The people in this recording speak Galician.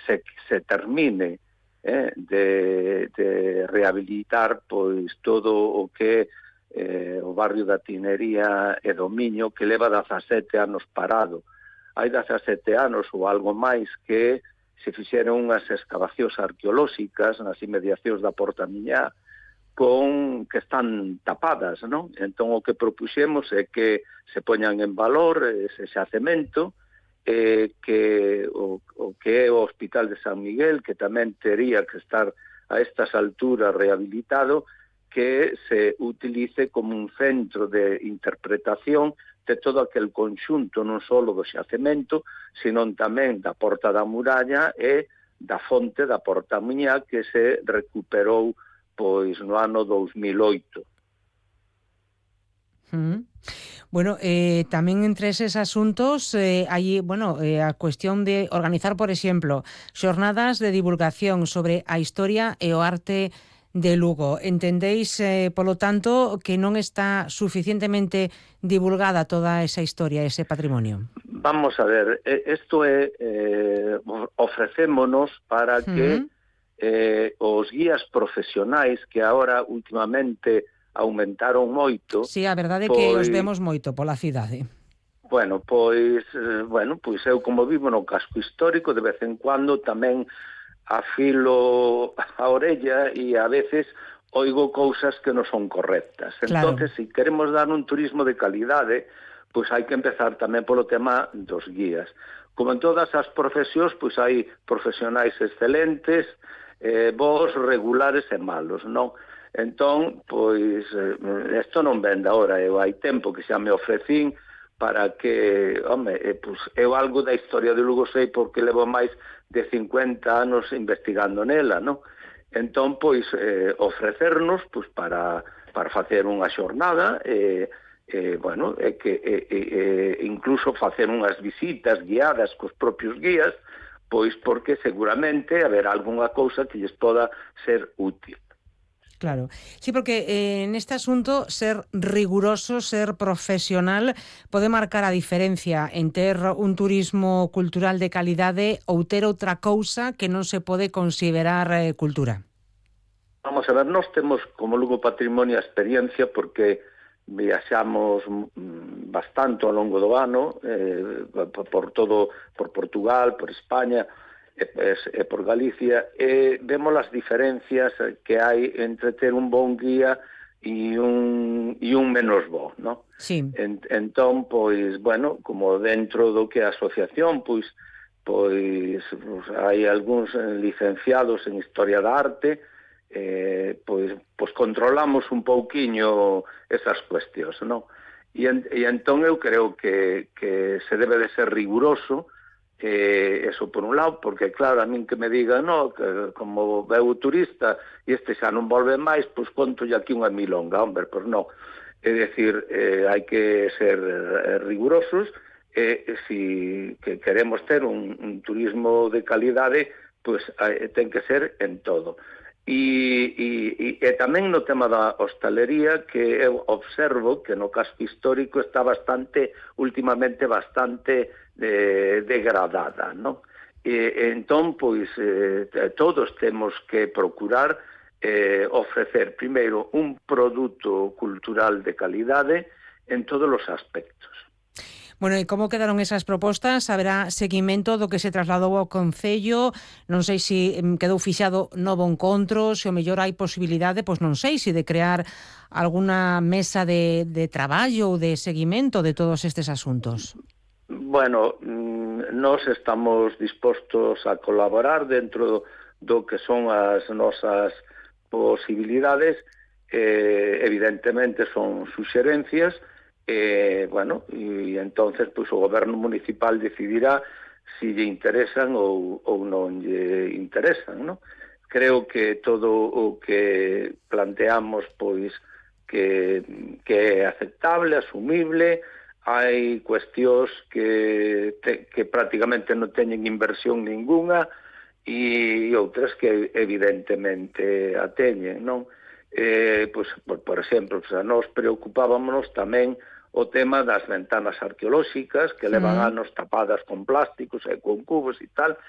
se termine de rehabilitar pois todo o que o barrio da Tinería e do Miño, que leva 17 anos parado. Hai 17 anos ou algo máis que se fixeron unhas excavacións arqueolóxicas nas inmediacións da Porta Miñá que están tapadas, non? Entón o que propuxemos é que se poñan en valor ese xacemento, que o que é o Hospital de San Miguel, que tamén tería que estar a estas alturas rehabilitado, que se utilice como un centro de interpretación de todo aquel conxunto, non só do xacemento, sino tamén da Porta da Muralla e da fonte da Porta Miñá, que se recuperou pois no ano 2008. Bueno, tamén entre eses asuntos hai, a cuestión de organizar, por exemplo, xornadas de divulgación sobre a historia e o arte de Lugo. Entendéis, polo tanto, que non está suficientemente divulgada toda esa historia, ese patrimonio? Vamos a ver, isto é ofrecémonos para que os guías profesionais que agora últimamente aumentaron moito. Sí, a verdade é que os vemos moito pola cidade. Pois eu como vivo no casco histórico, de vez en cuando tamén afilo a orella e a veces oigo cousas que non son correctas. Claro. Entonces, se queremos dar un turismo de calidade, pois hai que empezar tamén polo tema dos guías. Como en todas as profesións, pois hai profesionais excelentes, bons, regulares e malos, non? Entón, pois, isto non vende agora, eu hai tempo que xa me ofrecín para que, pois, eu algo da historia de Lugo sei porque levo máis de 50 anos investigando nela, non? Entón, pois, ofrecernos pois, para facer unha xornada, incluso facer unhas visitas guiadas cos propios guías, pois porque seguramente haberá algunha cousa que lles poda ser útil. Claro, sí, porque neste asunto ser riguroso, ser profesional pode marcar a diferencia en ter un turismo cultural de calidade ou ter outra cousa que non se pode considerar cultura. Vamos a ver, nós temos como Lugo Patrimonio a experiencia porque viaxamos bastante ao longo do ano por Portugal, por España e por Galicia, e vemos as diferencias que hai entre ter un bon guía e un menos bo, non? Sí. Entón, pois, como dentro do que é a asociación, pois hai algúns licenciados en Historia da Arte, pois controlamos un pouquiño esas cuestións, non? E entón eu creo que se debe de ser riguroso, eso por un lado, porque claro, a min que me digan, que como veu turista e este xa non volve máis, pois contolle aquí unha milonga, pois non. É dicir, hai que ser rigurosos, se queremos ter un turismo de calidade, pois ten que ser en todo. E tamén no tema da hostalería, que eu observo que no casco histórico está últimamente bastante degradada, non? Entón, pois, todos temos que procurar ofrecer, primeiro, un produto cultural de calidade en todos os aspectos. Bueno, e como quedaron esas propostas? Haberá seguimento do que se trasladou ao Concello? Non sei se quedou fixado novo encontro, se o mellor hai posibilidade, pois non sei, se de crear alguna mesa de traballo ou de seguimento de todos estes asuntos. Bueno, nós estamos dispostos a colaborar dentro do que son as nosas posibilidades, evidentemente son suxerencias, e entonces pois o goberno municipal decidirá se lle interesan ou non lle interesan, non? Creo que todo o que planteamos pois que é aceptable, asumible. Hai cuestións que prácticamente non teñen inversión ninguna e outras que evidentemente a teñen, non? Por exemplo, nós preocupábamos tamén o tema das ventanas arqueolóxicas que levan anos tapadas con plásticos e con cubos e tal,